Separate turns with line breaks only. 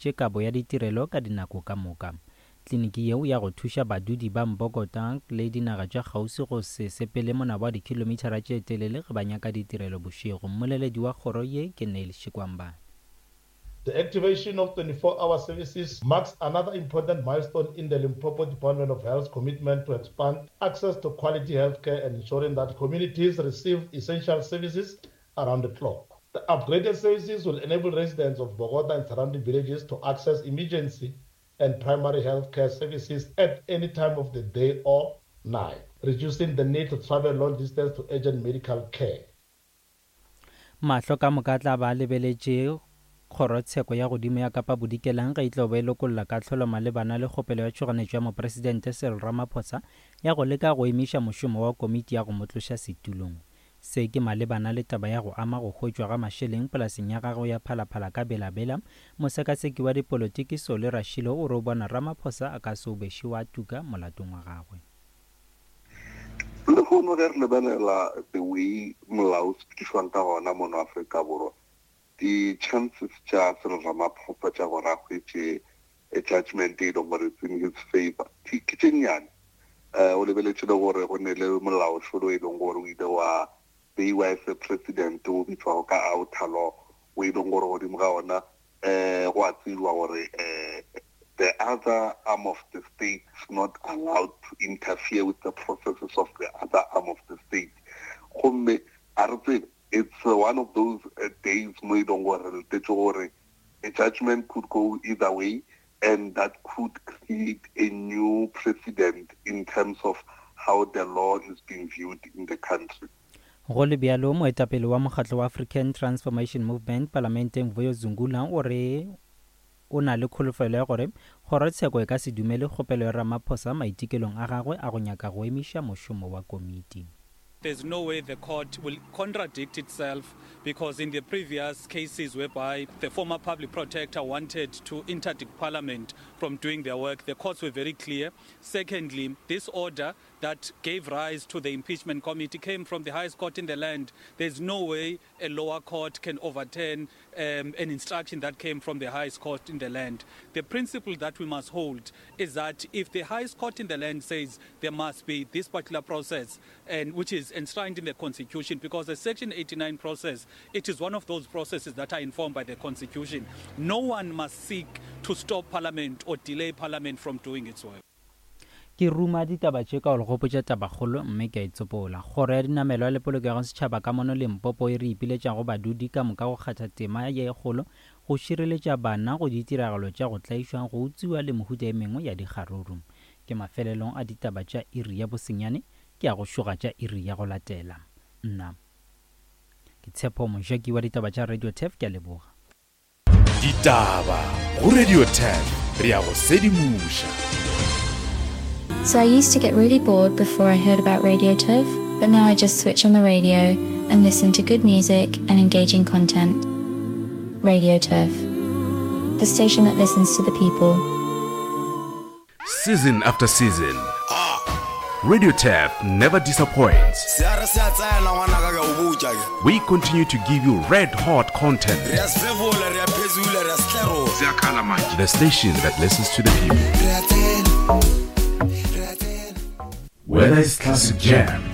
swanetše kabo ya ditirelo ka dinako ka moka. Kliniki yeo ya go thuša badudi ba Mbokota le dinaga tša kgauswi go se sepele monabo wa dikhilomithara tše telele ge ba nyaka ditirelo bošego. Mmoleledi wa kgoro ye ke Neil Shikwambana.
The activation of 24-hour services marks another important milestone in the Limpopo Department of Health's commitment to expand access to quality healthcare and ensuring that communities receive essential services around the clock. The upgraded services will enable residents of Bogota and surrounding villages to access emergency and primary health care services at any time of the day or night, reducing the need to travel long distance to urgent medical care.
Mahlo ka moka a tla ba a lebeletše Kgorotsheko ya Godimo ya Kapa Bodikelang ge e tlo ba e lokolla kahlolo malebana le kgopelo ya tšhoganetšo ya Mopresidente Cyril Ramaphosa ya go leka go emiša mošomo wa komiti ya go mo tloša setulong. Se ke malebana le taba ya go ama go hwetšwa ga mašeleng polaseng ya gagwe ya Phalaphala ka Bela-Bela. Mosekaseki wa dipolotiki Solly Rashilo o re o bona Ramaphosa a ka se obeše wa tuka molatong wa gagwe.
Lehono ge re lebelela the way molao o sepedišwang ka gona mono Afrika Borwa, di-chances tša Cyril Ramaphosa tša gore a hwetše a judgment e leng gore it's in his favor ke tše nnyane. Um o lebeletše le gore go ne le molaošolo e leng gore o ile wa beiwa as a president o bitšwago ka outer law o e leng gore godimo ga ona um go a tsejwa gore um the other arm of the state is not allowed to interfere with the processes of the other arm of the state. Gomme a re tsebe, it's one of those days mo e leng gore re letetše gore A judgment could go either way and that could create a new precedent in terms of how the law is being viewed in the country.
Go le bjalo, moetapele wa mokgatlo wa African Transformation Movement palamenteng Vuyo Zungula o re o na le kholofelo ya gore kgorotsheko e ka se dumele kgopelo ya Ramaphosa maitekelong a gagwe a go nyaka go emiša mošomo wa komiti.
There's no way the court will contradict itself because in the previous cases whereby the former public protector wanted to interdict parliament from doing their work, the courts were very clear. Secondly, this order that gave rise to the impeachment committee came from the highest court in the land. There's no way a lower court can overturn um, an instruction that came from the highest court in the land. The principle that we must hold is that if the highest court in the land says there must be this particular process, and which is enshrined in the Constitution, because the Section 89 process, it is one of those processes that are informed by the Constitution. No one must seek to stop Parliament or delay Parliament from doing its work.
Ke ruma ditaba tše ka go le gopotša tabakgolo mme ke a itsopola. Kgoro ya Dinamelwa le Polokego ya Setšhaba ka mono Limpopo e re ipiletša go badudi ka moka go kgatha tema ye kgolo go šireletša bana go ditiragalo tša go tlaišwa, go utswiwa le mehuta e mengwe ya dikgaruru. Ke mafelelong a ditaba tša iri ya bosenyane, ke a go šoga tša iri ya go latela. Nna ke Tshepo Mojaki wa ditaba tša Radio Turf, ke a leboga.
Ditaba go Radio Turf, re a go sedimoša.
So I used to get really bored before I heard about Radio Turf, but now I just switch on the radio and listen to good music and engaging content. Radio Turf, the station that listens to the people.
Season after season, Radio Turf never disappoints. We continue to give you red hot content. The station that listens to the people. Whether it's classic jams,